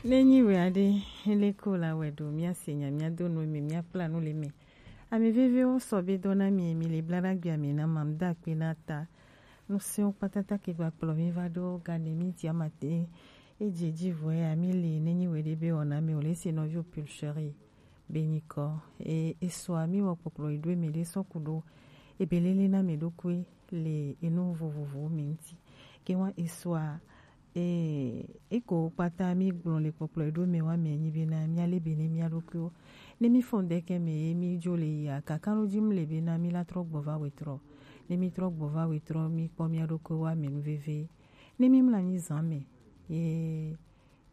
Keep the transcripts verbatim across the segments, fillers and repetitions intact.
Ne nyi wɛ aɖe, ele ko la wɛ ɖo, míase nya, míado nu eme, míakpla nu le eme. Ame veviwo sɔ be dɔ na mi, mi le bla ɖa gbia mi na ma, mi da akpe na ta. Nu sewo kpatata ke gba kplɔ mi va ɖo gane mi ti amate. Edze dzi vɔe ami le ne nyi wɛ ɖe be wɔna mi o le se nɔvi o pulcheri. Be nyikɔ e esɔa mi wɔ kpɔkplɔ yi ɖo eme ɖe sɔ ku ɖo ebe lele na mi ɖokui le enu vovovowo mi ŋuti. Ke wa esɔa e eko kpata mi gblɔ le kpɔkplɔ yi ɖo eme wa mi nyi be na mi ale be ne mi aɖokuiwo. Ne mi fɔn ɖeke me ye mi dzo le yia kaka ɖo dzi mi le be na mi la trɔ gbɔ va wetrɔ. Ne mi trɔ gbɔ va wetrɔ mi kpɔ mi aɖokuiwo wa mi nu veve. Ne mi mla nyi zan me ye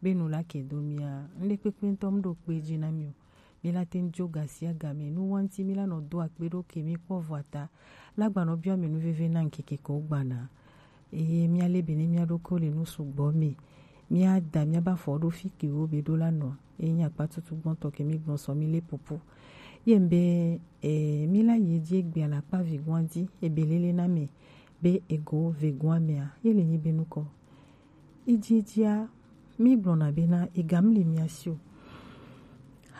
be nu la ke do mia, ŋɖe kpekpe ŋutɔ mu ɖo kpe dzi na mi o. Mi la te ŋu dzo gasiagame, nu wa ŋuti mi la nɔ do akpe ɖo ke mi kpɔ vɔ ata. La gbanɔ biɔ mi nu veve na ŋkeke ko gbana. Eye mia le be ne mia ɖokui le nu sugbɔ me. Mia da mia ba fɔ ɖo fi ke wo be ɖo la nɔ. Eye nya kpa tutu gbɔntɔ ke mi gbɔn sɔ mi le pupu. Ye be e mi la ye dzi egbe alakpa vi gbɔn dzi ebe lele na me be ego ve gbɔn mea, ye le nyi be nukɔ. Edziedzia, mi gblɔna bena ega mli mia si o.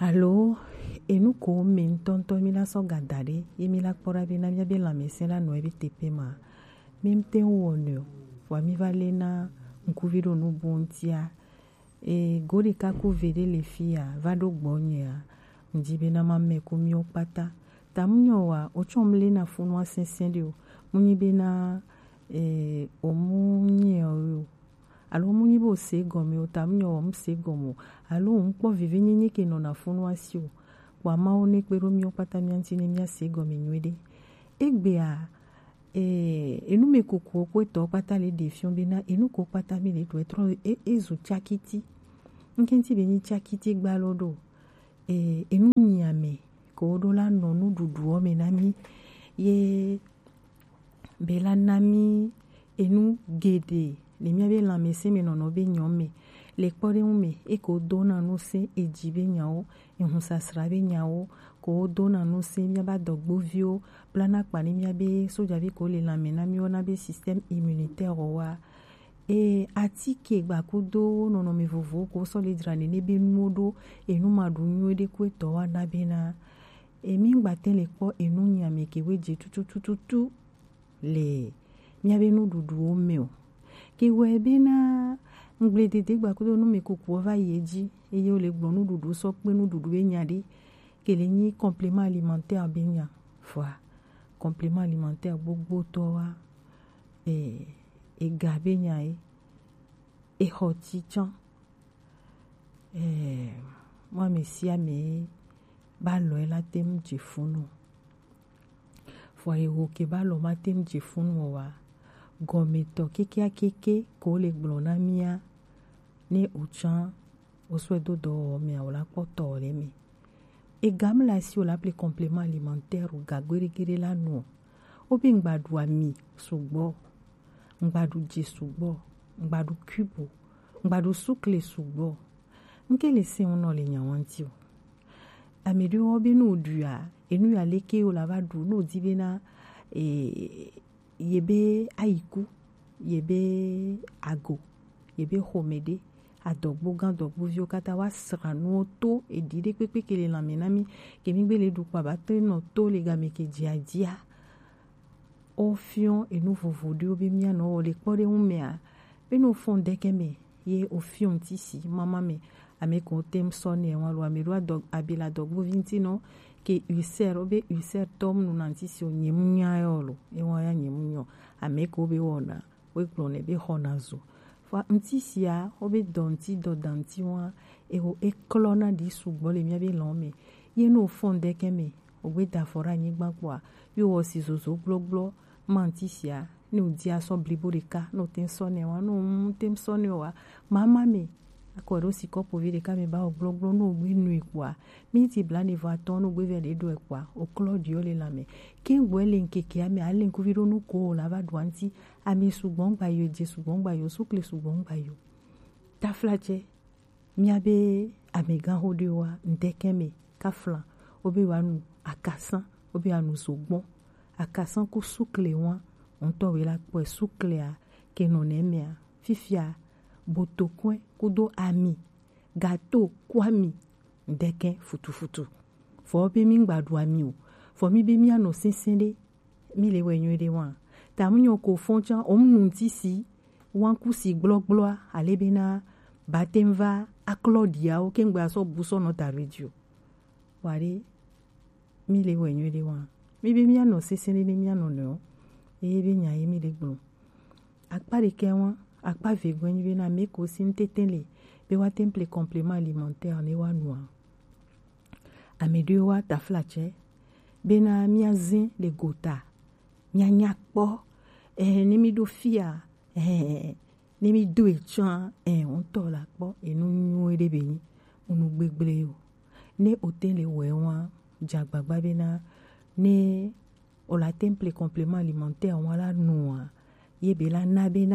Alo enu ko me ŋutɔŋutɔ mi la sɔ gada ɖe ye mi la kpɔ ɖa bena mia be lãmesẽ la nɔ ebe teƒe ma. Mi ŋute ŋu wɔ nɛ o. Vɔa mi va le na ŋkuvi ɖo nu bo ŋutia. E go ɖeka ku ve ɖe le fia va ɖo gbɔnyea. Ŋdi bena ma mɛ ku miwo kpata. Ta mu nyɔ wa, o tsɔ mu le na funua sɛnsɛn ɖe o. Mu nyi bena e o mu nyɛ o yo. Alo mu nyi be o se gɔme o, ta mu nyɔ wa mu se gɔme o. Alo ŋu kpɔ vivi nyenye ke nɔ na funua si o. Kpɔ amawo ne kpe ɖo miwo kpata mia ŋuti ne mia se gɔme nyuiɖe. Egbea e enu me kukuwo ko etɔ kpata le ɖe fiɔ bena enu ko kpata mi le ɖo etrɔ e ezu tsakiti. Ŋke ŋuti be nyi tsakiti gba lo ɖo. E enu nyi ame ko ɖo la nɔ nuɖuɖuwo me na mi ye be la na mi enu geɖe le mia be lãmesẽ me nɔnɔ be nyɔ me. Le kpɔɖeŋu me eko do na nu se edzi be nyawo, ehun sasra be nyawo, ko do na nu se mia ba dɔgboviwo, bla na kpa ne mia be sojavi ko le lãme na miwo na be système immunitaire wa. E atike gbakudo nɔnɔme vovowo ko sɔ le dzra nene be nuwo ɖo enu ma ɖu nyuie ɖe ko etɔ wa na be na emi ŋgba te le kpɔ enu nyame ke we dze tututututu le mia be nuɖuɖuwo me o. Ke wɛ be na ŋgble dede gbakudo nu me kukuwo va yi edzi eye wo le gblɔ nuɖuɖu sɔ kpe nuɖuɖu be nya ɖe ke le nyi complément alimentaire be nya. Vɔa complément alimentaire gbogbo tɔ wa e ega be nya ye exɔ tsi tsã. E mo ame sia ame ba lɔ la te ŋu dze funu. Vɔa yewo ke ba lɔ ma te ŋu dze funu o wa gɔmetɔ kekeakeke ko le gblɔ na mia ne o tsã o sɔe do dɔwɔwɔ mea o la kpɔ tɔ le me. Ega mla si o la ple complément alimentaire o ga gbeɖegbeɖe la nu o. Wo be ŋgba ɖu ami sugbɔ, ŋgba ɖu dze sugbɔ, ŋgba ɖu cube o, ŋgba ɖu sukle sugbɔ. Ŋke le se ŋu nɔ le nya wa ŋuti o. Ame ɖewo be ne o ɖua enu ya leke o la va ɖu ne o di be na e ye be ayiku, ye be ago, ye be xɔme ɖe, adɔgbo gã adɔgboviwo kata wa sra nuwo to eɖi ɖe kpekpe ke le lãme na mi ke mi gbe le ɖu kpa ba to nɔ to le game ke dzia dzia. O fiɔ enu vovo ɖewo be mia nɔ wɔ le kpɔ ɖe ŋu mea be no fɔn deke me ye o fiɔ ŋuti si mama me. Ame ko te ŋu sɔ ne wa lo ame ɖo adɔ abila dɔgbovi ŋuti nɔ ke ulcère o be ulcère tɔ mu nu na ŋuti si o nye mu nya yɔ lo ewa ya nye mu nyɔ ame ko be wɔna wo gblɔ ne be xɔna zo. Vɔa ŋuti sia wo be dɔ ŋuti dɔ da ŋuti wa ewo eklɔ na ɖi sugbɔ le mia be lɔ me ye no fɔn deke me o gbe da afɔ ɖe anyigba kpɔa yo wɔ si zozo gblɔgblɔ ma ŋuti sia ne o di asɔ blibo ɖeka ne o te ŋu sɔ ne wa ne o mu te ŋu sɔ ne wa mama me akɔ ɖo si kɔpo vi ɖeka me ba o gblɔgblɔ ne o gbe nui kpɔa mi ti bla ne vɔ atɔ ne o gbe vɛ ɖe ɖo kpɔa o klɔ ɖi o le la me ke gbɔ le ŋkeke ame ale ŋkuvi ɖo nu ko o la va ɖu anti ame sugbɔ ŋgba yo dze sugbɔ ŋgba yo sukle sugbɔ ŋgba yo tafla tsɛ. Mia be amegãxo ɖewoa, ŋdekɛ me kafla wo be wa nu akasã, wo be wa nu zogbɔn. Akasã ku sukle wa ŋutɔ we la kpɔe suklea ke nɔ nɛ mea. Fifia botokɔe kudo ami gato, ku ami, ŋdɛkɛ futufutu. Vɔ be mi ŋgba ɖu ami o. Vɔ mi be mia nɔ sɛnsɛn ɖe, mi le wɛ nyuie ɖe wa. Ta mu nyɔ ko fɔn can, o mu nu ŋti si, wanku si gblɔgblɔa, ale bena, batem va aklɔ ɖiawo, ke ŋgbe asɔ bu sɔ nɔ ta radio. Wa ɖe, mi le wɛ nyuie ɖe wa. Mi be mia nɔ sɛnsɛn ɖe ne mia nɔ nɔ. Eye be nya ye mi le gblɔ. Akpa ɖekɛ wa, akpa vegɔe nyi bena me ko si ŋtete le, be wa temple complément alimentaire ne wa nua. Ame ɖewo wa taflatsɛ, bena mia zin le gota, mia nya kpɔ, eh, ne mi ɖo fia, eh, ne mi do etsɔa, eh, ŋutɔ la kpɔ, enu nyuie ɖe be nyi, enu gbegble o. Ne o te le wɛ wa, dza gbagba bena, ne o la temple complément alimentaire wa la nua, ye be la na bena,